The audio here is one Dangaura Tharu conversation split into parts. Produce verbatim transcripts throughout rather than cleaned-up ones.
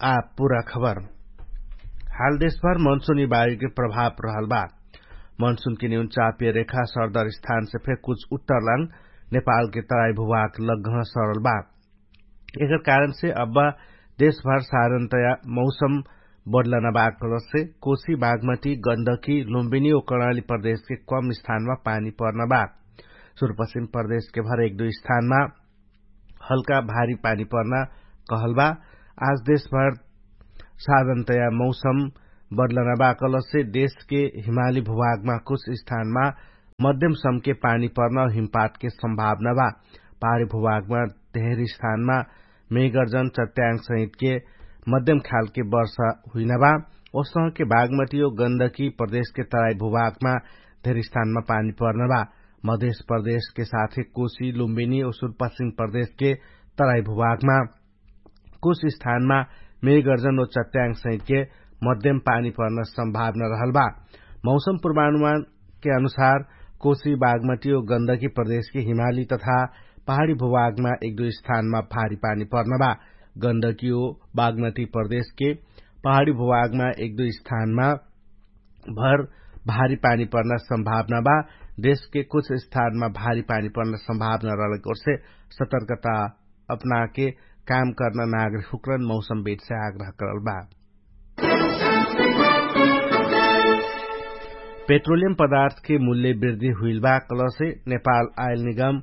आ पुरा खबर। हाल देशभर मनसुनी वायुके प्रभाव रहल बा। मनसुनके निउन चापिय रेखा सरदर स्थानसे फेर कुछ उत्तरलाङ नेपालके तराई भुभाग लग्घह सरल बा। एकर कारणसे अब्बा देशभर साधनतया मौसम बदलना बा कलसे कोशी बागमती गन्धकी लुम्बिनी ओ कर्णाली प्रदेशके कम स्थानमा पानी पर्ना बा। सुरुपश्चिम प्रदेशके भर एक दुई स्थानमा हल्का भारी पानी पर्ना कहल बा। आज देशभर साधनतया मौसम बदलना बा कलसे देशके हिमाली भुभागमा कुछ स्थानमा मध्यम समके पानी पर्ना हिमपातके सम्भावना बा। पहाडी भुभागमा धेर स्थानमा मेगर्जन चट्याङ सहितके मध्यम खालके वर्षा हुइना बा। ओसहके बागमती ओ गन्धकी प्रदेशके तराई भुभागमा धेर स्थानमा पानी पर्ना बा। मधेश प्रदेशके साथे कोशी लुम्बिनी ओ सुरुपश्चिम प्रदेशके तराई भुभागमा कुछ स्थानमा मेगर्जन ओ चट्याङ सहितके मध्यम पानी पर्न सम्भावना रहल बा। मौसम पूर्वानुमानके अनुसार कोशी बागमती ओ गन्धकी प्रदेशके हिमाली तथा पहाडी भुभागमा एक दुई स्थानमा भारी पानी पर्न बा। गन्धकी ओ बागमती प्रदेशके पहाडी भुभागमा एक दुई स्थानमा भर भारी पानी पर्न सम्भावना बा। देशके कुछ स्थानमा भारी पानी पर्न सम्भावना रहलके ओर्से सतर्कता अपनाके काम कर्न नागरिक हुक्रन मौसम बेटसे आग्रह करल बा। पेट्रोलियम पदार्थके मूल्य वृद्धि हुइल बा कलसे नेपाल आयल निगम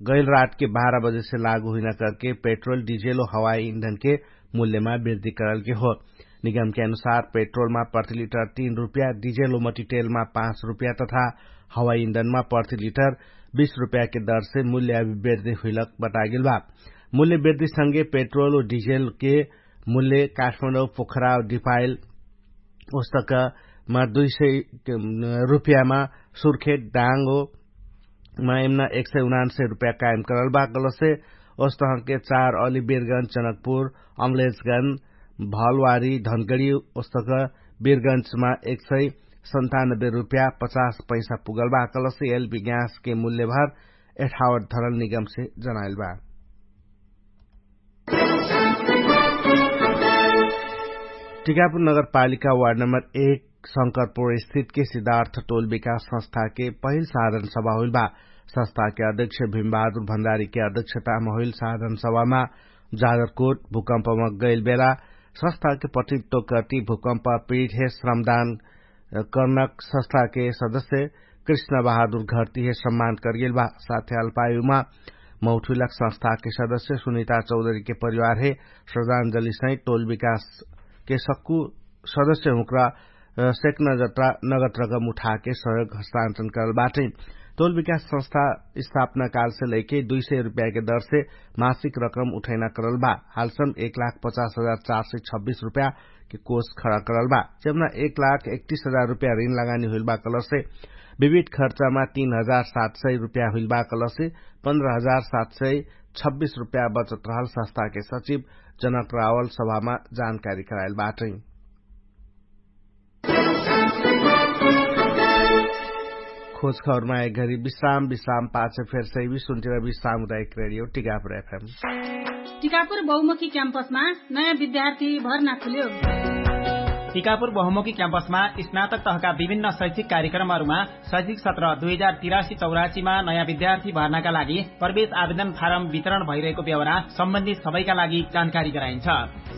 गैल रातके बाह्र बजेसे लागु हुइना करके पेट्रोल डिजेल ओ हवाई इन्धनके मूल्यमा वृद्धि करलके हो। निगमके अनुसार पेट्रोलमा प्रति लिटर तीन रुप्या डिजेल ओ मटिटेलमा पाँच रुप्या तथा हवाई इन्धनमा प्रति लिटर बीस रुप्याके दरसे मूल्य अभिवृद्धि हुइलक बतागेल बा। मूल्य वृद्धिसँगे पेट्रोल ओ डिजेलके मूल्य काठमाडौं पोखरा डिपाइल ओस्तकमा दुई सय रुप्यामा सुर्खेट डाङ्गो मा एमना एक सय उनान्सय रुप्या कायम करल बा कलसे ओस्तहके चार अली बिरगन्ज जनकपुर अम्लेजगन्ज भलवारी धनगडी ओस्तक बिरगन्जमा एक सय सन्तानब्बे रुप्या पचास पैसा पुगल बा कलसे एलबी ग्यासके मूल्यभर एठावट धरल निगमसे जनाइल बा। टिकापुर नगरपालिका वार्ड नम्बर एक शंकरपुर स्थितके सिद्धार्थ टोल विकास संस्थाके पहिल साधन सभा होइल बा। संस्थाके अध्यक्ष भीमबहादुर भण्डारीके अध्यक्षतामा होइल साधन सभामा जागरकोट भूकम्पमा गैल बेला संस्थाके प्रतित्व कर्ति भूकम्प पीठे श्रमदान कर्नक संस्थाके सदस्य कृष्ण बहादुर घरतिहे सम्मान करगेल बा। साथै अल्पायुमा मौठुइलक संस्थाके सदस्य सुनिता चौधरीके परिवारहे श्रद्धाञ्जली सहित टोल विकासके सक्कु सदस्य हुँक्रा सेक्न जत्रा नगद रकम उठाके सहयोग हस्तान्तरण करल बाटै। टोल विकास संस्था स्थापना कालसे लैके दुई सय रुप्याके दरसे मासिक रकम उठैना करल बा। हालसम एक लाख पचास हजार चार सय छब्बिस रुप्या के कोष खडा करल बा। जेमना एक लाख एकतिस हजार रुप्या ऋण लगानी हुइल बा कलसे विविध खर्चामा तीन हजार सात सय रुप्या हुइल बा कलसे पन्ध्र हजार सात सय छब्बिस रुप्या बचत रहल संस्थाके सचिव जनक रावल सभामा जानकारी कराइल बाटै। खोज खबरमा एक घरी विश्राम विश्राम पाछे फेर सैवी सुन्टिरा विश्राम उदायक रेडियो टिकापुर एफएम। टिकापुर बहुमुखी क्याम्पसमा नयाँ विद्यार्थी भर्ना खुल्यो। टिकापुर बहुमुखी क्याम्पसमा स्नातक तहका विभिन्न शैक्षिक कार्यक्रमहरूमा शैक्षिक सत्र दुई हजार तिरासी चौरासीमा नयाँ विद्यार्थी भर्नाका लागि प्रवेश आवेदन फारम वितरण भइरहेको बेहोरा सम्बन्धित सबैका लागि जानकारी गराइन्छ।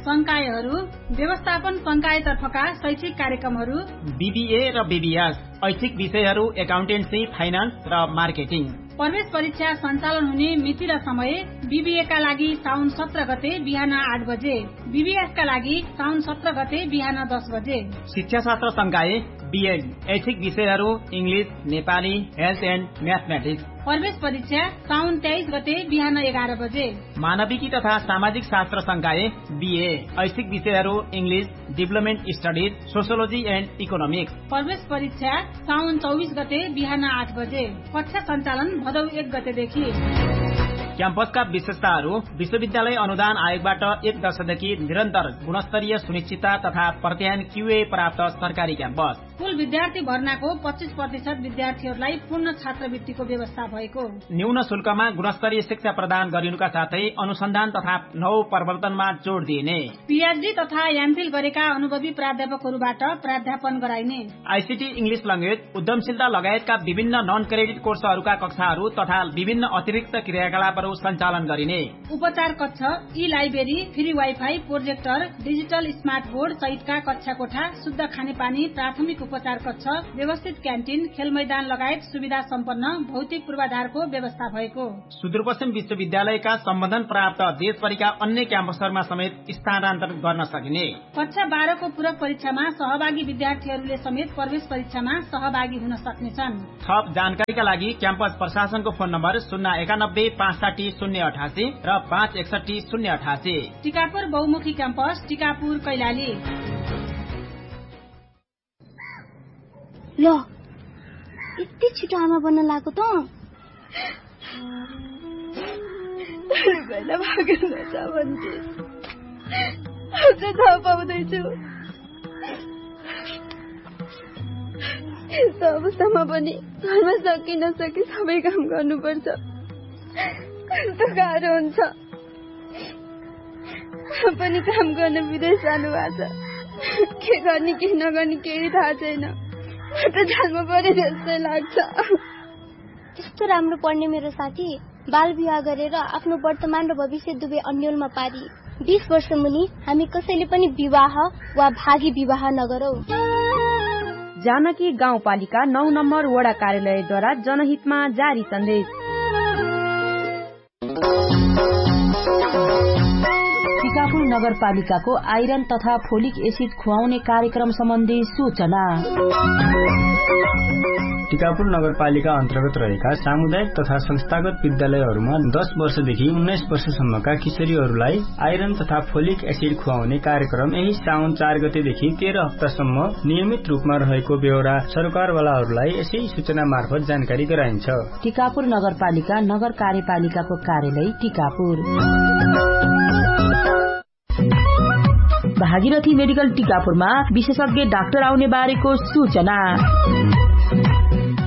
संकायहरू व्यवस्थापन संकायतर्फका शैक्षिक कार्यक्रमहरू बिबिए र बिबिएस, ऐच्छिक विषयहरू एकाउन्टेन्सी फाइनान्स र मार्केटिङ। प्रवेश परीक्षा सञ्चालन हुने मिति र समय बिबिएका लागि साउन सत्र गते बिहान आठ बजे, बिबिएसका लागि साउन सत्र गते बिहान दस बजे। शिक्षाशास्त्र संकाय बिएड, ऐच्छिक विषयहरू इङ्ग्लिस, नेपाली, हेल्थ एन्ड म्याथमेटिक्स। प्रवेश परीक्षा साउन तेइस गते बिहान एघार बजे। मानविकी तथा सामाजिक शास्त्र संकाय बिए, ऐच्छिक विषयहरू इङ्ग्लिस, डिभलपमेन्ट स्टडिज, सोसियोलोजी एन्ड इकोनोमिक्स। प्रवेश परीक्षा साउन चौबिस गते बिहान आठ बजे। कक्षा सञ्चालन भदौ एक गतेदेखि। क्याम्पसका विशेषताहरू। विश्वविद्यालय अनुदान आयोगबाट एक दशकदेखि निरन्तर गुणस्तरीय सुनिश्चितता तथा प्रत्ययन क्युए प्राप्त सरकारी क्याम्पस। कुल विद्यार्थी भर्नाको पच्चिस प्रतिशत विद्यार्थीहरूलाई पूर्ण छात्रवृत्तिको व्यवस्था भएको। न्यून शुल्कमा गुणस्तरीय शिक्षा प्रदान गरिनुका साथै अनुसन्धान तथा नव प्रवर्तनमा जोड दिइने। पिएचडी तथा एमफिल गरेका अनुभवी प्राध्यापकहरूबाट प्राध्यापन गराइने। आइसिटी, इङ्ग्लिस ल्याङ्ग्वेज, उद्यमशीलता लगायतका विभिन्न नन क्रेडिट कोर्सहरूका कक्षाहरू तथा विभिन्न अतिरिक्त क्रियाकलापहरू सञ्चालन गरिने। उपचार कक्ष, ई library, free wifi, projector, digital smart board सहितका कक्षा कोठा, शुद्ध खानेपानी, प्राथमिक उपचार कक्ष, व्यवस्थित क्यान्टिन, खेलमैदान लगायत सुविधा सम्पन्न भौतिक पूर्वाधारको व्यवस्था भएको। सुदूरपश्चिम विश्वविद्यालयका सम्बन्धन प्राप्त देशभरिका अन्य क्याम्पसहरूमा समेत स्थानान्तरण गर्न सकिने। कक्षा बाह्रको पूरक परीक्षामा सहभागी विद्यार्थीहरूले समेत प्रवेश परीक्षामा सहभागी हुन सक्नेछन्। थप जानकारीका लागि क्याम्पस प्रशासनको फोन नम्बर शून्य एकानब्बे पाँच साठी शून्य अठासी र पाँच एकसट्ठी शून्य अठासी। टिकापुर बहुमुखी क्याम्पस, टिकापुर, कैलाली। ल, यति छिटो आमा बन्न लागेको त? पहिला भागेर नजा भन्थे। अझ थाहा पाउँदैछु। यस्तो अवस्थामा पनि घरमा सकि नसकि सबै काम गर्नुपर्छ। कस्तो गाह्रो हुन्छ। पनि काम गर्न विदेश जानुभएको छ। के गर्ने के नगर्ने केही थाहा छैन। म त जान्नु पर्यो जस्तै लाग्छ। त्यस्तो राम्रो पढ्ने मेरो साथी बाल विवाह गरेर आफ्नो वर्तमान र भविष्य दुवै अन्यलमा पारी। बिस वर्ष मुनि हामी कसैले पनि विवाह वा भागी विवाह नगरौँ। जानकी गाउँपालिका नौ नम्बर वडा कार्यालयद्वारा जनहितमा जारी सन्देश। टिकापुर नगरपालिकाको आइरन तथा फोलिक एसिड खुवाउने कार्यक्रम सम्बन्धी सूचना। टिकापुर नगरपालिका अन्तर्गत रहेका सामुदायिक तथा संस्थागत विद्यालयहरूमा दस वर्षदेखि उन्नाइस वर्षसम्मका किशोरीहरूलाई आइरन तथा फोलिक एसिड खुवाउने कार्यक्रम यही साउन चार गतेदेखि तेह्र हप्तासम्म नियमित रूपमा रहेको बेहोरा सरकारवालाहरूलाई यसै सूचना मार्फत जानकारी गराइन्छ। टिकापुर नगरपालिका नगर कार्यपालिकाको कार्यालय टिकापुर। भागीरथी मेडिकल टिकापुरमा विशेषज्ञ डाक्टर आउने बारेको सूचना।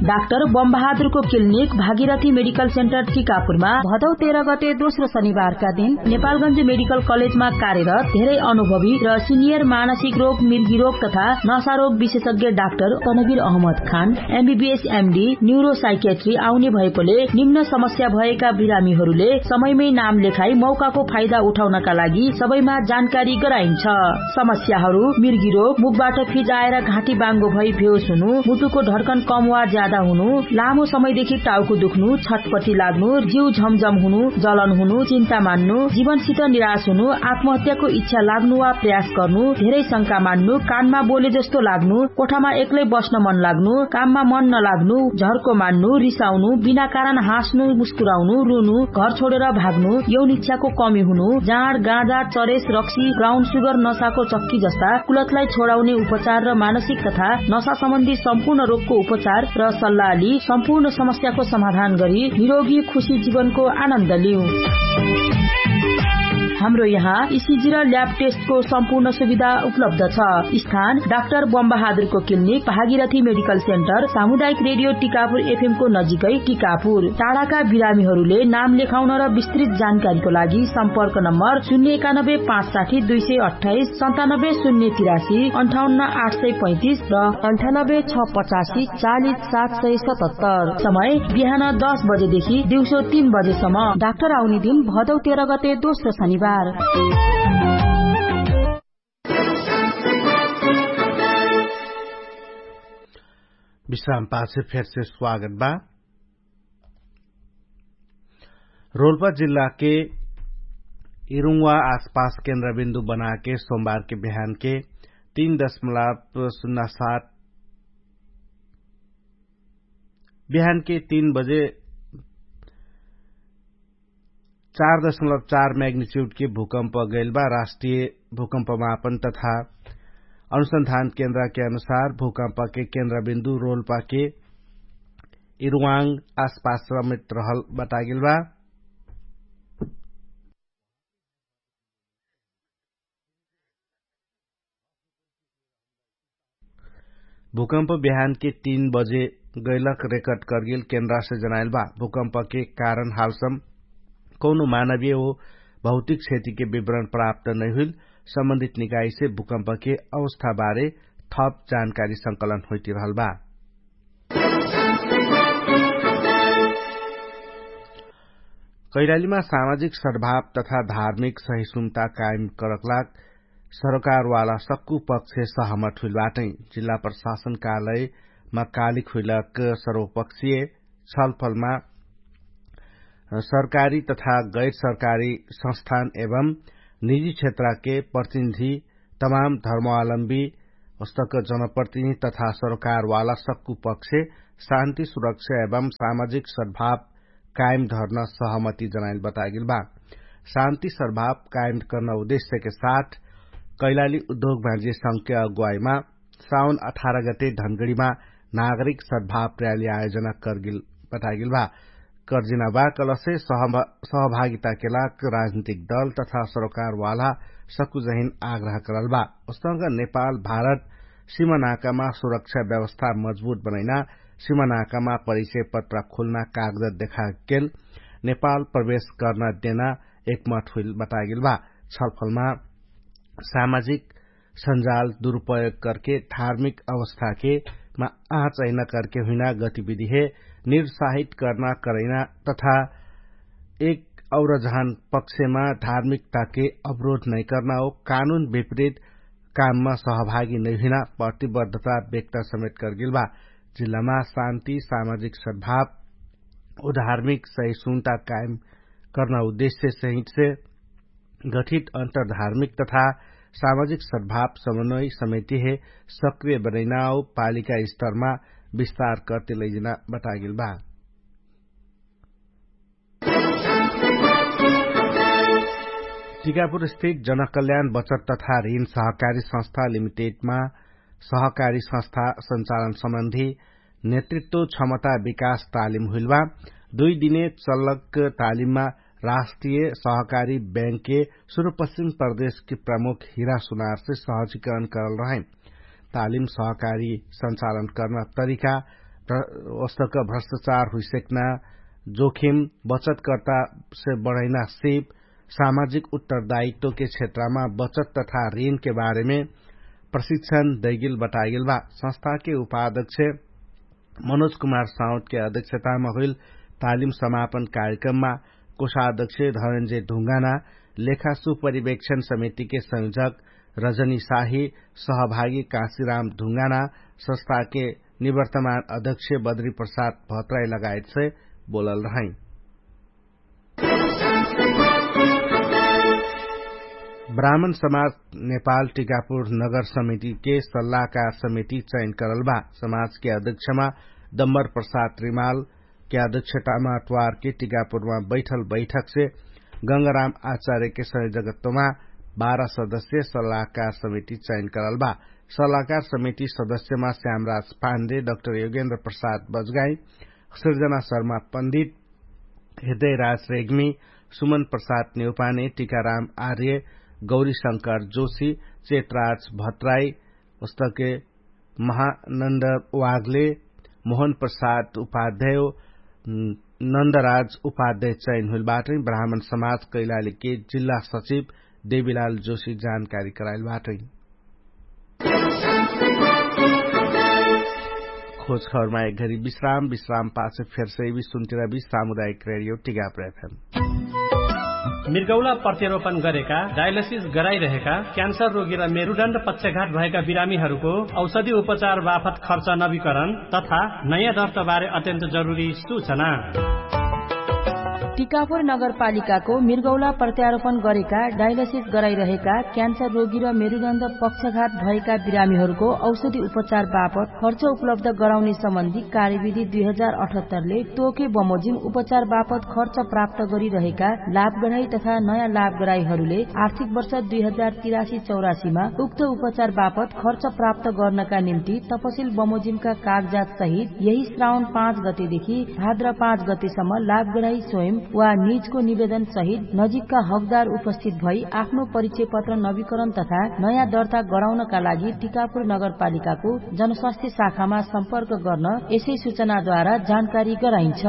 डाक्टर बमबहादुरको क्लिनिक भागीरथी मेडिकल सेन्टर टिकापुरमा भदौ तेह्र गते दोस्रो शनिबारका दिन नेपालगञ्ज मेडिकल कलेजमा कार्यरत धेरै अनुभवी र सिनियर मानसिक रोग, मिर्गी रोग तथा नसा रोग विशेषज्ञ डाक्टर तनवीर अहमद खान एमबीबीएस एमडी न्युरोसाइकेट्री आउने भएकोले निम्न समस्या भएका बिरामीहरूले समयमै नाम लेखाई मौकाको फाइदा उठाउनका लागि सबैमा जानकारी गराइन्छ। समस्याहरू मिर्गी रोग, मुखबाट फिजाएर घाँटी बाङ्गो भई भेउस हुनु, मुटुको ढड्कन कम वा ज्यादा हुनु, लामो समयदेखि टाउको दुख्नु, छटपटी लाग्नु, जिउ झमझम हुनु, जलन हुनु, चिन्ता मान्नु, जीवनसित निराश हुनु, आत्महत्याको इच्छा लाग्नु वा प्रयास गर्नु, धेरै शंका मान्नु, कानमा बोले जस्तो लाग्नु, कोठामा एक्लै बस्न मन लाग्नु, काममा मन नलाग्नु, झर्को मान्नु, रिसाउनु, बिना कारण हाँस्नु, मुस्कुराउनु, रुनु, घर छोडेर भाग्नु, यौन इच्छाको कमी हुनु, जाँड, गाँजा, चरेस, रक्सी, ब्राउन सुगर, नसाको चक्की जस्ता कुलतलाई छोडाउने उपचार र मानसिक तथा नसा सम्बन्धी सम्पूर्ण रोगको उपचार र सल्लाह लि सम्पूर्ण समस्याको समाधान गरी निरोगी खुशी जीवनको आनन्द लिऊ। हाम्रो यहाँ इसिजी र ल्याब टेस्टको सम्पूर्ण सुविधा उपलब्ध छ। स्थान डाक्टर बमबहादुरको क्लिनिक, भागीरथी मेडिकल सेन्टर, सामुदायिक रेडियो टिकापुर एफएमको नजिकै टिकापुर। टाढाका बिरामीहरूले नाम लेखाउन र विस्तृत जानकारीको लागि सम्पर्क नम्बर शून्य एकानब्बे पाँच साठी दुई सय अट्ठाइस, सन्तानब्बे शून्य तिरासी, अन्ठाउन्न आठ सय पैँतिस र अन्ठानब्बे छ पचासी चालिस सात सय सतहत्तर। समय बिहान दस बजेदेखि दिउँसो तीन बजेसम्म। डाक्टर आउने दिन भदौ तेह्र गते दोस्रो शनिबार। विश्राम पाछे फेरसे स्वागत बा। रोल्पा जिल्लाके इरुङ्वा आसपास केन्द्रबिन्दु बनाके सोमबारके बिहानके तीन दशमलव शून्य सात बिहानके तीन बजे चार दशमलव चार म्याग्निच्युडके भूकम्प गैलबा। राष्ट्रिय भूकम्प मापन तथा अनुसन्धान केन्द्रके अनुसार भूकम्पके केन्द्रबिन्दु रोल्पाके इरुवाङ आसपास समेत रहल बतागेलबा। भूकम्प बिहानके तीन बजे गैलक रेकर्ड करगेल केन्द्रासे जनाइल बा। भूकम्पके कारण हालसम कौनो मानवीय हो भौतिक क्षतिके विवरण प्राप्त नैहुइल। सम्बन्धित निकाइसे भूकम्पके अवस्थाबारे थप जानकारी संकलन होइतिरहल बा। कैलालीमा सामाजिक सद्भाव तथा धार्मिक सहिष्णुता कायम करकलाग सरकारवाला सक्कु पक्ष सहमत हुइल बाटै। जिल्ला प्रशासन कार्यालयमा कालिक हुइलक सर्वपक्षीय छलफलमा सरकारी तथा गैर सरकारी संस्थान एवं निजी क्षेत्रके प्रतिनिधि तमाम धर्मावलम्बी अस्तक जनप्रतिनिधि तथा सरकारवाला सक्कु पक्ष शान्ति सुरक्षा एवं सामाजिक सद्भाव कायम धर्न सहमति जनाइल बतागेल बा। शान्ति सद्भाव कायम कर्न उद्देश्यके साथ कैलाली उद्योग भाजिय संघके अगुवाइमा साउन अठार गते ढनगडीमा नागरिक सद्भाव र्याली आयोजना करगेल बतागेल बा। कर्जिना बा कलसे सहभागिताके लाग राजनीतिक दल तथा सरोकारवाला सकुजहिन आग्रह करल बा। उस्तंग नेपाल भारत सिमनाकामा सुरक्षा व्यवस्था मजबुत बनैना सिमनाकामा परिचय पत्र खुल्ना कागजत देखागेल नेपाल प्रवेश कर्ना देना एकमत हुइल बतागेल बा। छलफलमा सामाजिक सञ्जाल दुरुपयोग करके धार्मिक अवस्थाके मा आँच अहिना करके हुइना गतिविधिहे निरुत्साहित कर्ना करैना तथा एक और जहान पक्षमा धार्मिकताके अवरोध नैकर्ना हो कानुन विपरीत काममा सहभागी नैहुइना प्रतिबद्धता व्यक्त समेत करगेल बा। जिल्लामा शान्ति सामाजिक सद्भाव उधार्मिक सहिष्णुता कायम कर्ना उद्देश्य सहितसे गठित अन्तर्धार्मिक तथा सामाजिक सद्भाव समन्वय समितिहे सक्रिय बनैनाओ पालिका स्तरमा विस्तार कर्ते लैजिना बतागेल बा। टिकापुर स्थित जनकल्याण बचत तथा ऋण सहकारी संस्था लिमिटेडमा सहकारी संस्था सञ्चालन सम्बन्धी नेतृत्व क्षमता विकास तालिम हुइलबा। दुइ दिने चल्लक तालिममा राष्ट्रिय सहकारी बैंकके सुरुपश्चिम प्रदेशके प्रमुख हिरा सुनारसे सहजीकरण करल रहै। तालिम सहकारी सञ्चालन कर्ना तरिका वस्तक भ्रष्टाचार हुइसेक्ना जोखिम बचतकर्तासे बढैना सिप सामाजिक उत्तरदायित्वके क्षेत्रमा बचत तथा ऋणके बारेमे प्रशिक्षण दैगेल बतागेल बा। संस्थाके उपाध्यक्ष मनोज कुमार साउदके अध्यक्षतामा हुइल तालिम समापन कार्यक्रममा कोषाध्यक्ष धनन्जय ढुङ्गाना, लेखा सुपरिवेक्षण समितिके संयोजक रजनी साही, सहभागी काशीराम ढुङ्गाना, संस्थाके निवर्तमान अध्यक्ष बद्री प्रसाद भत्राई लगायतसे बोलल रहै। ब्राह्मण समाज नेपाल टिकापुर नगर समितिके सल्लाहकार समिति चयन करल बा। समाजके अध्यक्षमा दम्बर प्रसाद रिमालके अध्यक्षतामा अट्वारके टिकापुरमा बैठल बैठकसे गंगाराम आचार्यके संयोजकत्वमा बाह्र सदस्य सल्लाहकार समिति चयन करल बा। सल्लाहकार समिति सदस्यमा श्यामराज पाण्डे, डक्टर योगेन्द्र प्रसाद बजगाई, सिर्जना शर्मा पण्डित, हृदयराज रेग्मी, सुमन प्रसाद नेउपाने, टिकाराम आर्य, गौरीशंकर जोशी, चेतराज भत्राई, उस्तके महानन्द वागले, मोहन प्रसाद उपाध्याय, नन्दराज उपाध्याय चयन हुइल बाटै। ब्राह्मण समाज कैलालीके जिल्ला सचिव देवीलाल जोशी जानकारी कराइल बाटै। खोज खबरमा एक घरी विश्राम विश्राम पाछ फेरसै विश्राम उदायक रेडियो टिगाप रेफेम। मिर्गौला प्रत्यारोपण गरेका डायलसिस गराइरहेका क्यान्सर रोगी र मेरुडण्ड पक्षघात भएका बिरामीहरूको औषधि उपचार बाफत खर्च नवीकरण तथा नयाँ दर्तबारे अत्यन्त जरुरी सूचना। टिकापुर नगरपालिकाको मिर्गौला प्रत्यारोपण गरेका डायलसिस गराइरहेका क्यान्सर रोगी र मेरुडण्ड पक्षघात भएका बिरामीहरूको औषधि उपचार बापत खर्च उपलब्ध गराउने सम्बन्धी कार्यविधि दुई हजार अठहत्तरले तोके बमोजिम उपचार बापत खर्च प्राप्त गरिरहेका लाभगराई तथा नयाँ लाभगराईहरूले आर्थिक वर्ष दुई हजार तिरासी चौरासीमा उक्त उपचार बापत खर्च प्राप्त गर्नका निम्ति तपसिल बमोजिमका कागजात सहित यही श्रावण पाँच गतेदेखि भाद्र पाँच गतेसम्म लाभगराई स्वयं वा निजको निवेदन सहित नजिकका हकदार उपस्थित भई आफ्नो परिचय पत्र नवीकरण तथा नयाँ दर्ता गराउनका लागि टिकापुर नगरपालिकाको जनस्वास्थ्य शाखामा सम्पर्क गर्न यसै सूचनाद्वारा जानकारी गराइन्छ।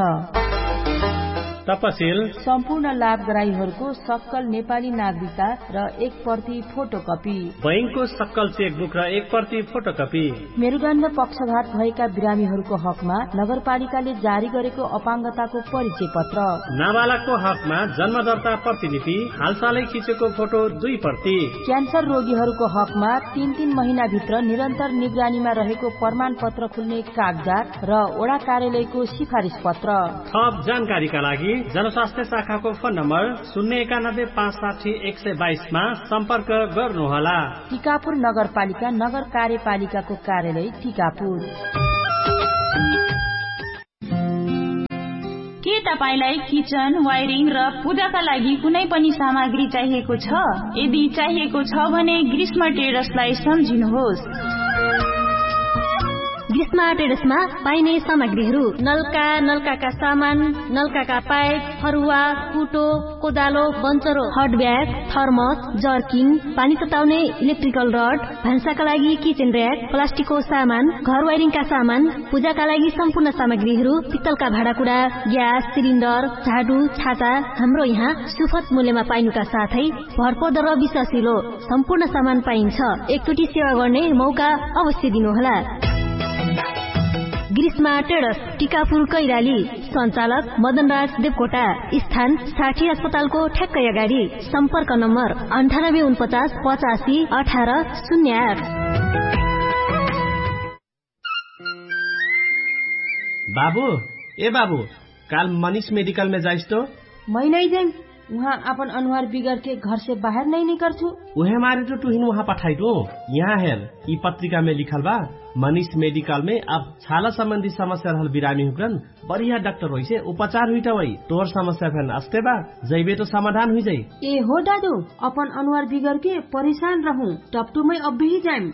तपसिल सम्पूर्ण लाभग्राहीहरूको सक्कल नेपाली नागरिकता र एक प्रति फोटोकपी। बैंकको सक्कल चेकबुक र एक प्रति फोटोकपी। मेरुदण्ड पक्षघात भएका बिरामीहरूको हकमा नगरपालिकाले जारी गरेको अपाङ्गताको परिचय पत्र। नाबालकको हकमा जन्मदर्ता प्रतिलिपि, हालसालै खिचेको फोटो दुई प्रति। क्यान्सर रोगीहरूको हकमा तीन तीन महिनाभित्र निरन्तर निगरानीमा रहेको प्रमाणपत्र खुल्ने कागजात र वडा कार्यालयको सिफारिस पत्र। थप जानकारीका लागि जनस्वास्थ्य शाखाको फोन नम्बर शून्य एकानब्बे पाँच साठी एक सय बाइसमा सम्पर्क गर्नुहोला। टिकापुर नगरपालिका नगर कार्यपालिकाको कार्यालय टिकापुर। के तपाईंलाई किचन वायरिङ र पूजाका लागि कुनै पनि सामग्री चाहिएको छ? यदि चाहिएको छ भने ग्रीष्म ट्रेडर्सलाई सम्झिनुहोस्। ग्रीष्म ट्रेडर्समा पाइने सामग्रीहरू नलका, नलकाका सामान, नलकाका पाइप, फरुवा, कुटो, कोदालो, बन्चरो, हटब्याग, थर्मस, जर्किन, पानी तताउने इलेक्ट्रिकल रड, भान्साका लागि किचन र्‍याक, प्लास्टिकको सामान, घर वायरिङका सामान, पूजाका लागि सम्पूर्ण सामग्रीहरू, पित्तलका भाँडाकुँडा, ग्यास सिलिन्डर, झाडु, छाता, हाम्रो यहाँ सुफत मूल्यमा पाइनुका साथै भरपर्दो र विश्वासिलो सम्पूर्ण सामान पाइन्छ। एकचोटि सेवा गर्ने मौका अवश्य दिनुहोला। ग्रीष्मा ट्रेडर्स, टिकापुर कैराली। सञ्चालक मदनराज देवकोटा। स्थान साठी अस्पतालको ठ्याक्कै अगाडि। सम्पर्क नम्बर अन्ठानब्बे उनपचास पचासी अठार शून्य आठ। बाबु, ए बाबु, काल मनिष मेडिकलमे जाइस तो? मै नै जाइम। उहाँ आपन अनुहार बिगरके घरसे बाहेर नै निकर्छु। उहे मारे तो टुहिन उहाँ पठाइटु। यहाँ हेर, यि पत्रिकामे लिखल बा, मनिष मेडिकलमे अब छाला सम्बन्धी समस्या रहल बिरामी हुकरन बढिया डाक्टर होइसे उपचार हुइटा वइ। तोर समस्या फेन अस्ते बा, जैबे तो समाधान हुइजाइ। ए हो दादु, अपन अनुहार बिगरके परेशान रहु, टपटुमै अब्बेही जाइम।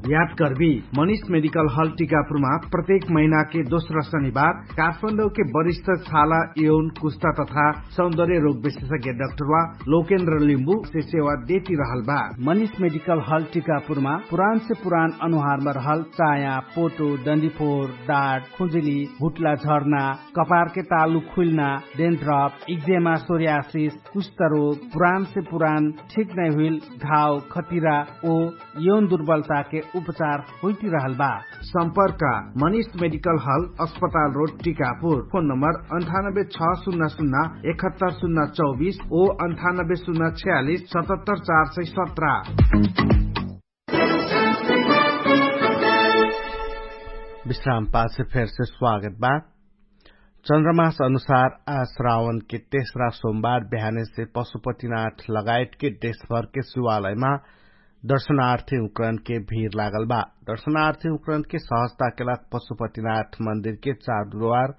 याद करबी, मनिष मेडिकल हल टिकापुरमा प्रत्येक महिनाके दोस्रा शनिबार काठमाडौके वरिष्ठ छाला यौन कुस्ता तथा सौन्दर्य रोग विशेषज्ञ डाक्टरवा लोकेन्द्र लिम्बु से सेवा देती रहल बा। मनिष मेडिकल हल टिकापुरमा पुरान से पुरान अनुहारमा रहल चाया, पोटो, डन्डीफोर, डाट, खुजुली, हुट्ला झर्ना, कपारके तालु खुइल्ना, डेन्ड्रप, इक्जेमा, सोर्यासिस, कुष्ठरोग, पुरान से पुरान ठिक नै हुइल घाव, खतिरा ओ यौन दुर्बलताके उपचार होइती रहल बा। सम्पर्क मनिष मेडिकल हल, अस्पताल रोड, टिकापुर। फोन नम्बर अन्ठानब्बे छ सुन्ना सुन्ना एकहत्तर सुन्ना चौबिस ओ अन्ठानब्बे सुन्ना छयालिस सतहत्तर चार सय सत्र। विश्राम पाछे फेरसे स्वागत बा। चन्द्रमास अनुसार आ श्रावणके तेस्रा सोमबार बिहानेसे पशुपतिनाथ लगायतके देशभरके शिवालयमा दर्शनार्थी उक्रनके भिर लागल बा। दर्शनार्थी उक्रनके सहजताके लाग पशुपतिनाथ मन्दिरके चारद्वार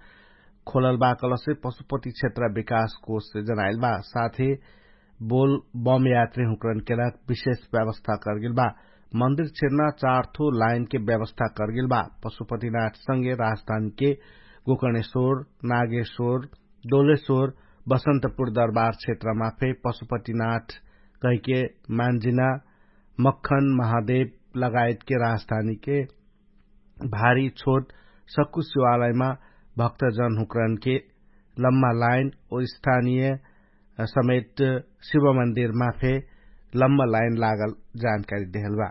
खोलल बा कलसे पशुपति क्षेत्र विकास कोषसे जनाइल बा। साथै बोल बम यात्री हुक्रनके लाग विशेष व्यवस्था करगेल बा। मन्दिर क्षेत्रमा चारथो लाइनके व्यवस्था करगेल बा। पशुपतिनाथ सँगे राजधानीके गोकर्णेश्वर, नागेश्वर, डोलेश्वर, बसन्तपुर दरबार क्षेत्रमा फे पशुपतिनाथ कहिके मान्जिना मक्खन महादेव लगायतके राजधानीके भारी छोट सक्कु शिवालयमा भक्तजन हुक्रनके लम्मा लाइन ओ स्थानीय समेत शिव मन्दिरमा फे लम्मा लाइन लागल जानकारी देहल बा।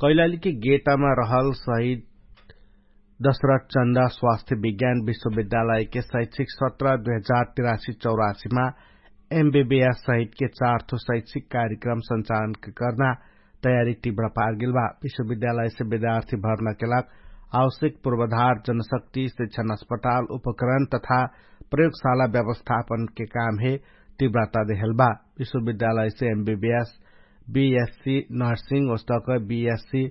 कैलालीके गेटामा रहल शहीद दशरथ चन्द स्वास्थ्य विज्ञान विश्वविद्यालयके शैक्षिक सत्र दुई हजार तिरासी चौरासीमा एमबीबीएस सहितके चारथो शैक्षिक कार्यक्रम सञ्चालन कर्ना तयारी टिब्र पारगेल बा। विश्वविद्यालयसे विद्यार्थी भर्नाके लाग आवश्यक पूर्वधार जनशक्ति शिक्षण अस्पताल उपकरण तथा प्रयोगशाला व्यवस्थापनके काम हे टिब्रता देहल बा। विश्वविद्यालयसे एमबीबीएस, बीएससी नर्सिङ ओस्तक बीएससी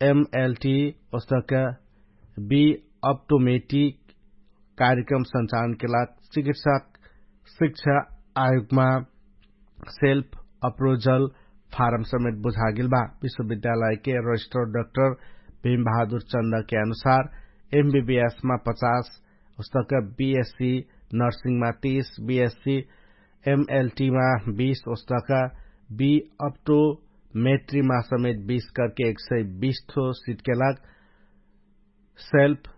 एमएलटी ओस्तक बी अप्टोमेटिक कार्यक्रम सञ्चालनके लाग चिकित्सक शिक्षा आयोगमा सेल्फ अप्रोजल फारम समेत बुझागेल बा। विश्वविद्यालयके रजिस्टर डाक्टर भीम बहादुर चन्दके अनुसार एमबीबीएसमा पचास, उस्तक बीएससी नर्सिङमा तीस, बीएससी एमएलटीमा बीस, उस्तक बी अप्टो मेट्रीमा समेत बीस करके एक सय बीस ठो सिटके लाग सेल्फ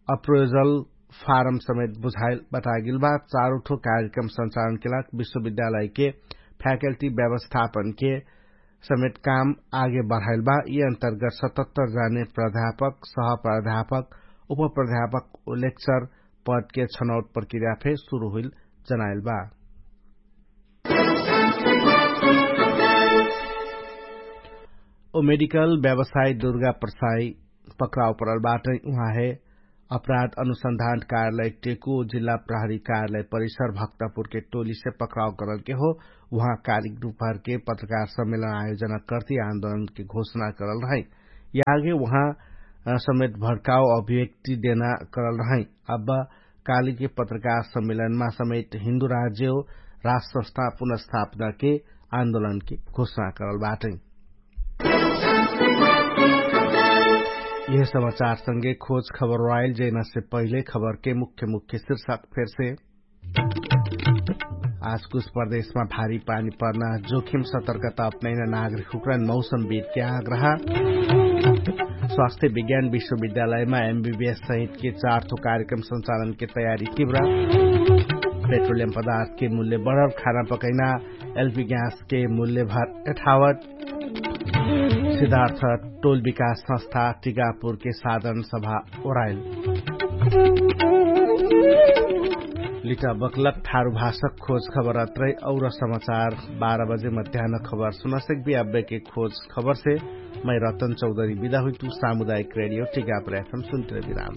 अप्रोजल फारम समेत बुझाइल बतागेल बा। चारुठो कार्यक्रम संचालनके लाग विश्वविद्यालयके फ्याकल्टी व्यवस्थापनके समेत काम आगे बढाइल बा। यि अन्तर्गत सतहत्तर जाने प्राध्यापक, सह प्राध्यापक, उपप्राध्यापक लेक्चर पदके छनौट प्रक्रिया फे सुरु हुइल जनाइल बा। ओ मेडिकल व्यवसाय दुर्गा प्रसाई पक्राउ परल बाटै। उहाँ हे अपराध अनुसन्धान कार्यालय टेकु जिल्ला प्रहरी कार्यालय परिसर भक्तपुरके टोलीसे पक्राउ करलके हो। उहाँ कालिक दुपहरके पत्रकार सम्मेलन आयोजना कर्ति आन्दोलनके घोषणा करल रहै। यागे उहाँ समेत भड्काउ अभिव्यक्ति देना करल रहै। अब कालिके पत्रकार सम्मेलनमा समेत हिन्दु राज्य हो राज संस्था पुनर्स्थापनाके आन्दोलनके घोषणा करल बाटै। यह समाचारसँगे खोज खबर राइल जैनासे पहिले खबरके मुख्य मुख्य शीर्षक फेरसे। आज कुछ प्रदेशमा भारी पानी पर्ना जोखिम सतर्कता अपनैना नागरिक हुक्रन मौसम बीतके आग्रह। स्वास्थ्य विज्ञान विश्वविद्यालयमा एमबीबीएस सहितके चारथो कार्यक्रम संचालनके तयारी किब्रा। पेट्रोलियम पदार्थके मूल्य बढर खाना पकैना एलपी ग्यासके मूल्य भर यठावत। सिद्धार्थ टोल विकास संस्था टिकापुरके साधन सभा ओराइल। लिटा बक्लक ठारु भाषक खोज खबर अत्रै और समाचार बाह्र बजे मध्यान खबर सुनसक भी अब्बेके खोज खबरसे मै रतन चौधरी विदा हुइतु। सामुदायिक रेडियो टिकापुर एफएम सुन्तिर विराम।